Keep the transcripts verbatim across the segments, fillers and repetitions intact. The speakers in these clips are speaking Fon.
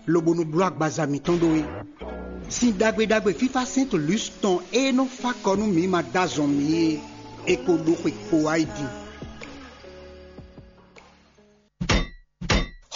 lobo nɔ bló agbaza mǐtɔn ɖó é. Sin ɖagbe ɖagbe fífá Sɛ́ntu Lus tɔn e nɔ fá kɔ nú mǐ ma dó azɔn mǐ é, é ko ɖó xwe kpo wá yi din.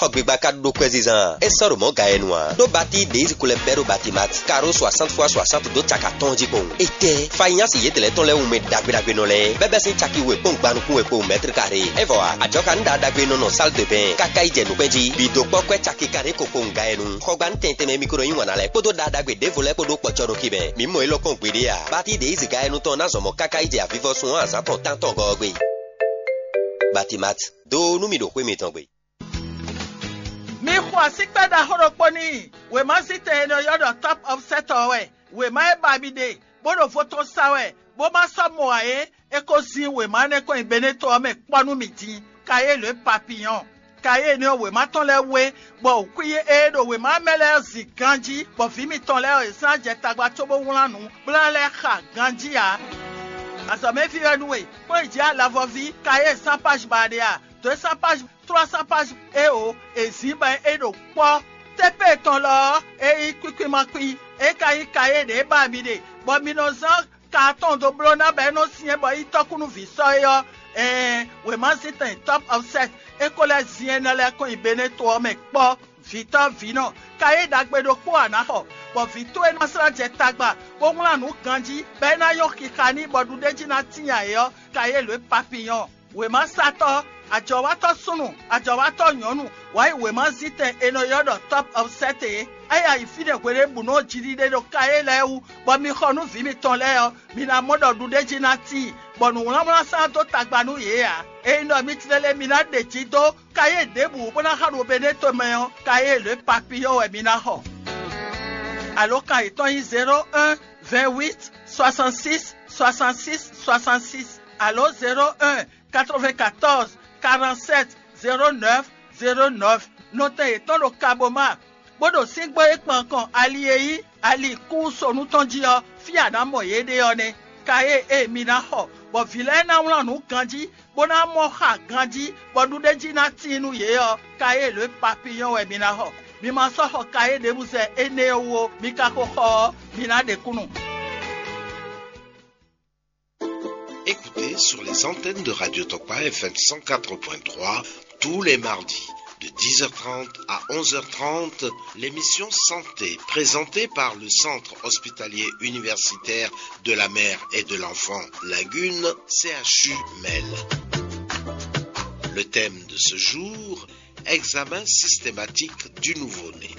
Xɔgbigba ka ɖó kwɛzizan, é sɔ́ ɖo mɔ̌ ga e nu ǎ. Ɖó batí ɖě yi zinkú lɛ́ bɛ́ ɖó Batimat, karo soixante fois soixante dó caka tɔn jí kpowun. Étɛ́! Fanyási yědɛɛ tɔn lɛ́ɛ wunmɛ ɖagbe ɖagbe nɔ lɛ́ɛ, bɛ́ bɛ́ sín caki we kpɔ́n gban nukún we kpowun mɛ̌tri karé. É vɔ ǎ, ajɔkanúɖaɖagbe nɔ nɔ sál de bɛn káká yi jɛ nǔkpɛ́n jí. Bǐ dó kpɔ́ kwɛ́ caki karé ko kpowun ga e nu. Xɔgbanú tɛntɛn mɛ mikro yí wǎn ná lɛ́ɛ kpódó ɖaɖagbe ɖěvo lɛ́ɛ kpó ɖó kpɔcɔ́ nɔ xi mɛ. Mǐ mɔ élɔ́ kpɔ́n gbeɖé ǎ. Batí ɖě yi zǐga e nu tɔn ná zɔn mɔ̌ káká yi jɛ avivɔsun ɔ́ azǎn tɔn tántɔn gɔ́ ɔ́ gbe. Batimat, dó nú mì ɖo xwé mitɔn gbe. Mi xo asíkpɛ́ ɖaxó ɖokpó n'i. Wěmazítɛn e nɔ ylɔ́ ɖɔ Top of Set ɔ́ wɛ. Wěma e ba mi ɖe, bó ɖo vo tɔn sa wɛ, bó ma sɔ́ mɔ ǎ é, é ko zin wěma énɛ́ kɔn nyi Beneto ɔ́ mɛ kpɔ́ nú mì din. Kayélu e papiyɔn. Kayélu énɛ́ ɔ́, wěma tɔn lɛ́ɛ wú é, bɔ wǔkwín e ɖo wěma mɛ lɛ́ɛ ɔ́ zin ganjí, bɔ vǐ mitɔn lɛ́ɛ ɔ́, yě sɔ́ ná jɛ tagba cóbó wlán nǔ, bó ná lɛ́ xa ganjí ǎ. Azɔ̌mɛví wɛ nú we, kplɔ́n yi jǐ alavɔví, kayé sánpáj ba ɖe a? Dǒ sánpáj trois cents pages eo è zǐn bɔ é ɖo kpɔ́. Tépée tɔn lɔ ɔ́, é nyí kwíkwín ma kwín, é ka nyí kayé ɖě ba mi ɖe, bɔ mi nɔ zán ka atɔn dó bló ná bɔ é nɔ syɛ́n bɔ é nyí tɔ́kúnúvǐ sɔ́ é ɔ́, ɛɛn, wěmazíntɛn Top of Set é ko lɛ́ zin énɛ́ lɛ́ɛ kɔn nyi Beneto ɔ́ mɛ kpɔ́. Vǐtɔ́ vǐnɔ, kayé ɖagbe ɖokpó a nǎ xɔ, bɔ vǐ towe ná slá jɛ tagba, bó wlán nǔ ganjí, bɔ é ná nyɔ́ xixa n'i bɔ ɖuɖéjí ná tíin ayǐ ɔ́, kayé lǒ e papiyɔn. Wěmasatɔ́, ajɔ̌watɔ́ súnnu, ajɔ̌watɔ́ nyɔ̌nu, wǎ yi wěmazítɛn è nɔ ylɔ́ ɖɔ Top of Set é. É yi ayǐ fínɛ́ hweɖěbǔnu ɔ́ jiɖiɖe ɖo kayé lɛ́ɛ wú, bɔ mi xɔ nú vǐ mitɔn lɛ́ɛ ɔ́, mi ná mɔ ɖɔ ɖuɖéjí ná tíin, bɔ nǔwlánwlán sán dó tagba nú yě ǎ. Ényí ɖɔ mi tlélé mi ná ɖe jǐ dó kayé ɖěbǔ bó ná xa ɖo Beneto mɛ ɔ́, kayé lě papiyɔ́ wɛ mi ná xɔ. Alǒkan yětɔn nyí zéro un, vingt huit, soixante six, soixante six, soixante six, alo zéro un, quatre vingt quatorze, quarante sept, zéro neuf, zéro neuf. Nɔtɛn yětɔn ɖo Kaboma, bó ɖo síngbó e kpan kɔn ali e nyí ali kúsonu tɔn jí ɔ́, fí a nǎ mɔ yě ɖe ɔ́ nɛ́. Kayé e mi ná xɔ, bɔ vǐ lɛ́ɛ ná wlán nǔ ganjí, bó ná mɔ xa ganjí, bɔ ɖuɖéjí ná tíin nú yě ɔ́, kayé lě papiyɔ́ wɛ mi ná xɔ. Mi ma sɔ́ xɔ kayé ɖěbǔ zɛ énɛ́ ɔ́ wú ó, mi ka ko xɔ ɔ́, mi ná ɖe kúnnu. Écoutez sur les antennes de Radio Tokpa F M cent quatre point trois tous les mardis de dix heures trente à onze heures trente l'émission Santé présentée par le Centre hospitalier universitaire de la mère et de l'enfant Lagune, C H U Mel. Le thème de ce jour, examen systématique du nouveau-né.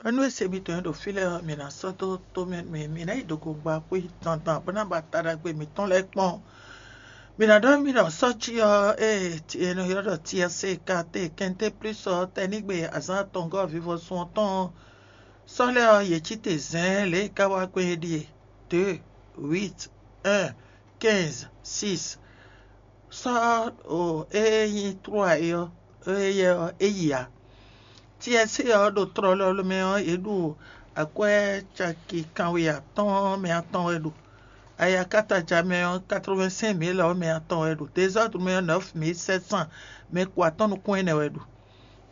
Ɖɔ nú e se mitɔn e ɖo fí lɛ́ɛ ɔ́, mǐ ná sɔ́ dó tó mɛ mǐ mǐ ná yi do gongba xwé dandan bó ná ba ta ɖagbe mǐtɔn lɛ́ɛ kpɔ́n. Mǐ ná ɖɔ mì ɖɔ sɔ́ cí ɔ́, ée è nɔ ylɔ́ ɖɔ Tiɛsé, Katé, Kɛnté plús ɔ́, tɛnígbe azǎn atɔngɔ́ vivɔsun ɔ́ tɔn ɔ́, sɔ́ lɛ́ɛ ɔ́, yě cí te zɛ̌ɛ́n lě e é ka wá gbɔn é ɖíe: deux, huit, un, quinze, six. Sɔ́ o e nyí trúa é ɔ́, éyɛ́ ɔ́, é yi ǎ. Tiɛsé ɔ́ ɖo tlɔlɔ mɛ ɔ́, yě ɖu akwɛ́ caki kanwe atɔ́ɔ́n mɛ atɔn wɛ ɖu. Ayakataja mɛ ɔ́, quatre-vingt-cinq mille ɔ́ mɛ atɔn wɛ ɖu. Dezɔ́dru mɛ ɔ́, neuf mille sept cents mɛ ko atɔ́n nukún ɛnɛ wɛ ɖu.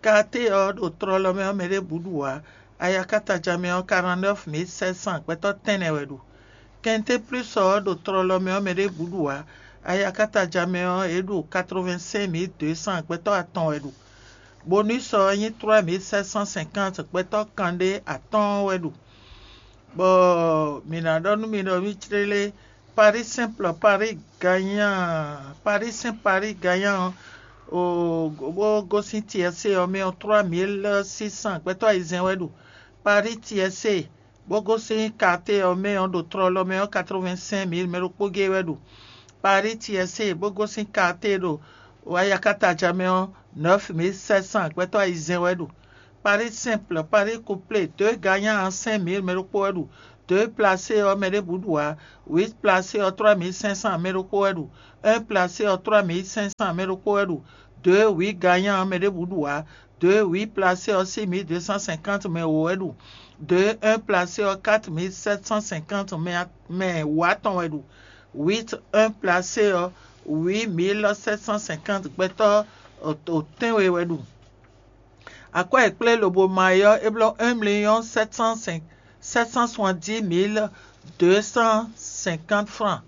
Katé ɔ́ ɖo tlɔlɔ mɛ ɔ́, mɛ ɖěbǔ ɖu ǎ. Ayakataja mɛ ɔ́, quarante-neuf mille sept cents gbɛtɔ́ tɛ́nnɛ wɛ ɖu. Kɛnté plús ɔ́ ɖo tlɔlɔ mɛ ɔ́, mɛ ɖěbǔ ɖu ǎ. Ayakataja mɛ ɔ́, yě ɖu quatre-vingt-cinq mille deux cents gbɛtɔ́ atɔn wɛ ɖu. Bonus ɔ́ nyí trois mille sept cent cinquante gbɛtɔ́ kanɖé atɔ́ɔ́n wɛ ɖu. Bɔ mǐ ná ɖɔ nú mi ɖɔ mì clélé, Paris simple, Paris gagnant, Paris Saint, Paris gagnant ɔ́, o bó gosín Tiɛsé ɔ́ mɛ ɔ́, trois mille six cents gbɛtɔ́ ayizɛ́n wɛ ɖu. Paris Tiɛsé bó gosín Katé ɔ́ mɛ ɔ́, ɖo tlɔlɔ mɛ ɔ́, quatre-vingt-cinq mille mɛ ɖokpó géé wɛ ɖu. Paris Tiɛsé bó gosín Katé ɖo Ayakataja mɛ ɔ́, neuf mille sept cents gbɛtɔ́ ayizɛ́n wɛ ɖu. Paris simple, Paris couplé, deux gagnants, cinq mille mɛ ɖokpó wɛ ɖu. Deux placé ɔ́, mɛ ɖěbǔ ɖu ǎ. Huit placé ɔ́, trois mille cinq cents mɛ ɖokpó wɛ ɖu. Un placé ɔ́, trois mille cinq cents mɛ ɖokpó wɛ ɖu. Deux huit gagnants, mɛ ɖěbǔ ɖu ǎ. Deux huit placé ɔ́, six mille deux cent cinquante mɛ wǒ wɛ ɖu. Deux un placé ɔ́, quatre mille sept cent cinquante mɛ mɛ wǒ atɔn wɛ ɖu. Huit un placé ɔ́, huit mille sept cent cinquante gbɛtɔ́ o tɛ́nwe wɛ ɖu. Akwɛ́ e kplé lobo ma é ɔ́, é bló un million sept cent cinq sept cent soixante-dix mille deux cent cinquante francs.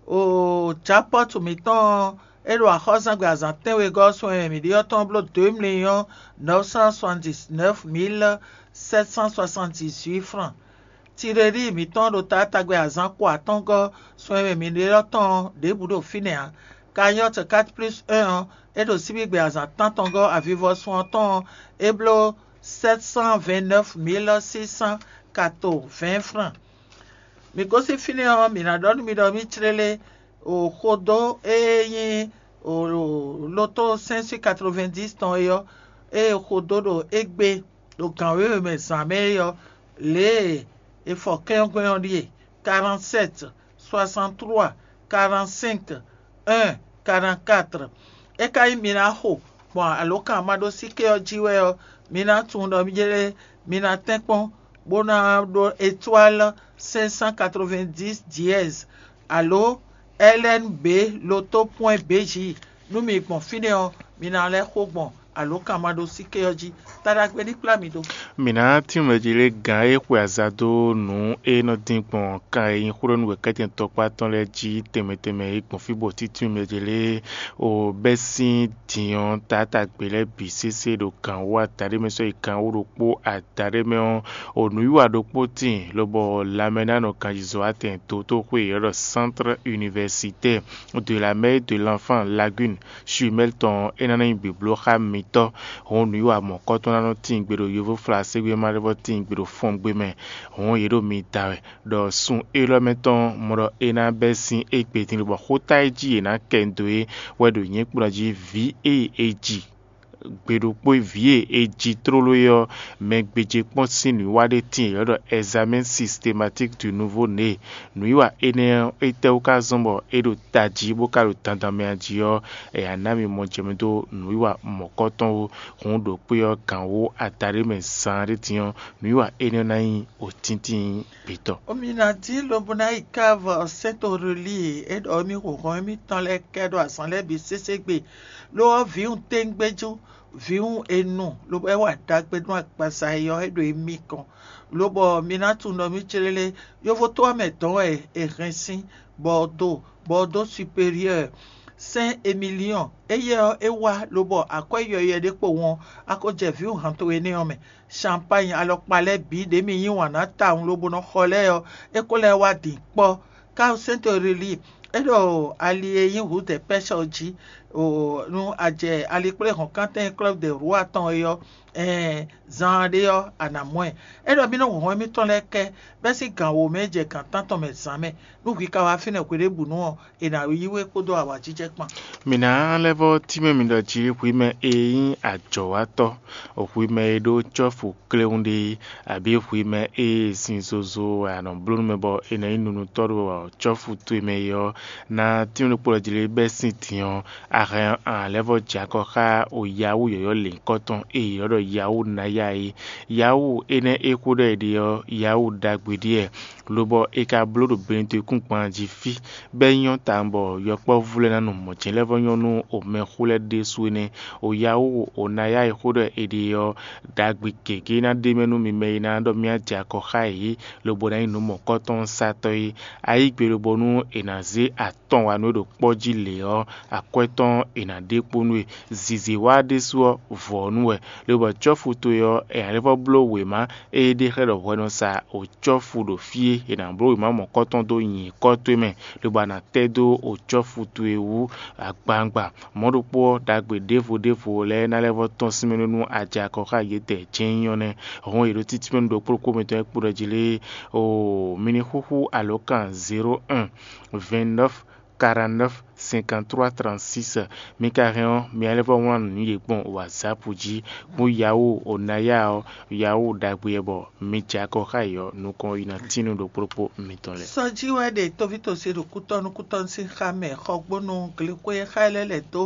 O japɔ́tu mǐtɔn ɔ́, é ɖo axɔ́zangbe azǎn tɛ́nwegɔ́ ɔ́ sun e mǐ ɖe ɔ́ tɔn bló deux millions neuf cent soixante-dix-neuf mille sept cent soixante-dix-huit francs. Tirelíi mǐtɔn ɖo taátagbe azǎn ko atɔ́ngɔ́ sun e mǐ ɖe ɔ́ tɔn ɔ́ ɖěbǔ ɖo fínɛ́ ǎ. Kanyɔ́ quatre plus un ɔ́, é ɖo síbígbe azǎn tántɔngɔ́ avivɔsun ɔ́ tɔn ɔ́, é bló sept cent vingt-neuf mille six cent quatre-vingts francs. Mǐ gosín fínɛ́ ɔ́, mǐ ná ɖɔ nú mi ɖɔ mǐ clélé o xodó e nyí o loto cinq cent quatre-vingt-dix tɔn é ɔ́, ée xodó ɖo égbé ɖo gǎn wěwe mɛ zǎn mɛ é ɔ́, lě e è fɔ kɛ́n ɔ́ gbɛn ɔ́ ɖíe: quarante-sept, soixante-trois, quarante-cinq, un, quarante-quatre. É ka nyí mi ná xo gbɔn alǒkanmaɖósíké ɔ́ jí wɛ ɔ́, mi ná tunwun ɖɔ mí jlé mi ná tɛ́nkpɔ́n bó ná ɖó étoile cinq cent quatre-vingt-dix dièse alo L N B loto point B J. Nú mi gbɔn fínɛ́ ɔ́, mi ná lɛ́ xo gbɔn alǒkanmaɖósíké ɔ́ jí. Taɖagbe ní kplá mi ɖó. Mǐ ná tínmɛ jí lé gǎn e xwe aza dó nǔ e nɔ dín gbɔn kan e nyí xó ɖɔ nú wěkɛ́tɛn tɔkpá tɔn lɛ́ɛ jí tɛnmɛ tɛnmɛ é gbɔn fí bɔ títúnmɛ jí lé o bɛ́ sín din ɔ́ taátagbe lɛ́ɛ bǐ sésé ɖo gǎn wú adaɖé mɛ sɔ́ yi gǎn wú ɖokpó adaɖé mɛ ɔ́, o nǔwiwa ɖokpó tíin lobɔ lanmɛnánɔ ganjizɔ́watɛn dótóxwé e è ylɔ́ ɖɔ Centre Universitaire de la Mère et de l'Enfant Lagune Chumel tɔn ɔ́, é ná nyí bibló xá mitɔ́. Hǔn nǔwiwa mɔ̌kɔ́tɔn ná nɔ tíin gbe ɖo yovóflaségbé mɛ, ɖé vɔ tíin gbe ɖo fɔngbe mɛ. Hǔn yě ɖo mi da wɛ, ɖɔ sun élɔ́ mɛ tɔn mɔ ɖɔ é ná bɛ́ sín égbé din, lobɔ xóta e jí yě ná kɛ nyi dó é wɛ ɖo nyǐkplɔ́n jí vǐ e è ji gbe ɖokpó vǐ e è ji tlóló é ɔ́, mɛ gbéjé kpɔ́n sín nǔwiwa ɖé tíin è ylɔ́ ɖɔ examen systématique du nouveau né. Nǔwiwa énɛ́ ɔ́, étɛ́wú ka zɔ́n bɔ é ɖo tají bó ka ɖo dandan mɛ a jí ɔ́, è nǎ ná mi mɔ jɛ mɛ dó nǔwiwa mɔ̌kɔ́tɔn ó. Hǔn ɖo kpé ɔ́ gǎn wó adaɖé mɛ zaan ɖé din ɔ́, nǔwiwa énɛ́ ná nyí wǒtíntín gbětɔ́. Mi ná dín lobo ná yi káva Sɛ́ntorelíi e ɖɔ émí hǒhɔ́n émítɔn lɛ́ɛ kɛ ɖo azǎn lɛ́ɛ bǐ sésé gbe, lo ɔ́, vǐwun téngbéjú, vǐwun e nu, lobo é wa ɖagbe nú agbaza e ɔ́, é ɖo émí kɔn, lobɔ mi ná tunwun ɖɔ mí clélé. Yovo to ɔ́ mɛ dɔ̌n wɛ è hɛn sín Bɔɔdo, Bɔɔdo Superieur, Sɛ́n Emiliɔn. Éyɛ́ ɔ́, é wá lobɔ akwɛ́ yɔywɛ ɖé kpo wɔn, a ko jɛ vǐwun han towe énɛ́ ɔ́ mɛ. Champagne alɔkpa lɛ́ɛ bǐ ɖě mi yí wǎn ná tawun lobo nɔ xɔ lɛ́ɛ ɔ́, é ko lɛ́ wá din kpɔ́. Káwusɛ́ntɔ́ Rili, é ɖo ali e nyí Rue des Pêcheurs jí, nú a jɛ ali kplé hɔ̌nkántɛn Club de Roi tɔn é ɔ́, ɛɛn, zaan ɖé ɔ́, a nǎ mɔ ɛ. É ɖɔ mì nɔ hɔn émítɔn lɛ́ɛ kɛ, bɛ́ sín gan wǒ mɛ jɛ gan tántɔn mɛ zǎn mɛ. Nú hwi ka wá fínɛ́ hweɖěbǔnu ɔ́, è nǎ yí we kpódó awǎjijɛ kpán. Mǐ ná lɛ́ vɔ́ tínmɛ mi ɖɔ jí hwi mɛ e nyí ajɔ̌watɔ́, hwi mɛ e ɖó cɔ́fu kléwún ɖé, abǐ hwi mɛ e sin zozo wɛ a nɔ bló nú mɛ bɔ è nɔ nyí nunutɔ́ ɖo cɔ́fu towe mɛ é ɔ́, ná tínmɛ ɖokpó ɖɔ jí lé bɛ́ sín din ɔ́, a hɛn a lɛ́ vɔ́ jɛ akɔ xá o Yawú yɔ̌yɔ́ lěhunkɔtɔn e è ylɔ́ ɖɔ Yawú ná ya é. Yawú énɛ́ e xó ɖɔ è ɖe ɔ́, Yawú ɖagbe ɖíe, lobɔ è ka bló ɖo Benedikúngban jí fí, bɔ é nyɔ́ tawun bɔ yɔkpɔ́vú lɛ́ɛ ná nu mɔ̌ jɛ́n lɛ́ vɔ́ nyɔ́ nú omɛxó lɛ́ɛ ɖésú énɛ́. O Yawú o ná ya e xó ɖɔ è ɖe ɔ́, ɖagbe gěgé ná ɖ'é mɛ nú mi mɛ e ná ɖɔ mì jɛ akɔ xá yě, lobo ná nyí nǔ mɔ̌kɔ́tɔn satɔ́ é. A yí gbe lobonu è nǎ zé atɔn wa nú é ɖo kpɔ́ jí lě ɔ́, akwɛ́ tɔn è nǎ ɖe kpo nú we. Zǐzé wa ɖésú ɔ́, vɔ̌ nú wɛ, lobɔ cɔ́fu towe ɔ́, è nǎ lɛ́ vɔ́ bló wěma e é ɖe xlɛ́ ɖɔ hwɛ nɔ sa o cɔ́fu ɖo fí é, è nǎ bló wěma mɔ̌kɔ́tɔn dó nyǐkɔ towe mɛ, lobo a nǎ tɛ́ dó o cɔ́fu towe wú agbawungba. Mɔ̌ ɖokpó ɔ́, ɖagbe ɖěvo ɖěvo lɛ́ɛ ná lɛ́ vɔ́ tɔ́n sín mɛ nú a jɛ akɔ xá yědɛɛ jɛ́n nyí ɔ́ nɛ́. Hɔn è ɖo títí mɛ nú ɖokpó ɖokpó mǐtɔn e kpo ɖɔ jí lé. Oo, mi ní xúxú alǒkan zéro un, vingt-neuf, quarante-neuf, cinquante-trois, trente-six. Mi ka hɛn ɔ́, mi ná lɛ́ vɔ́ wlán nǔ yě gbɔn WhatsApp jí. Kún Yahoo o ná ya ɔ́, Yahoo ɖagbe wɛ bɔ mi jɛ akɔ xá yě ɔ́, nukɔn yi ná tín nú ɖokpó ɖokpó mitɔn lɛ́ɛ. Sɔjí wɛ ɖe tóví tɔn sín ɖo kútɔ́nú kútɔ́nú sín xá mɛ, xɔgbónu glexwé xá ɛ lɛ́ lɛ̌ dó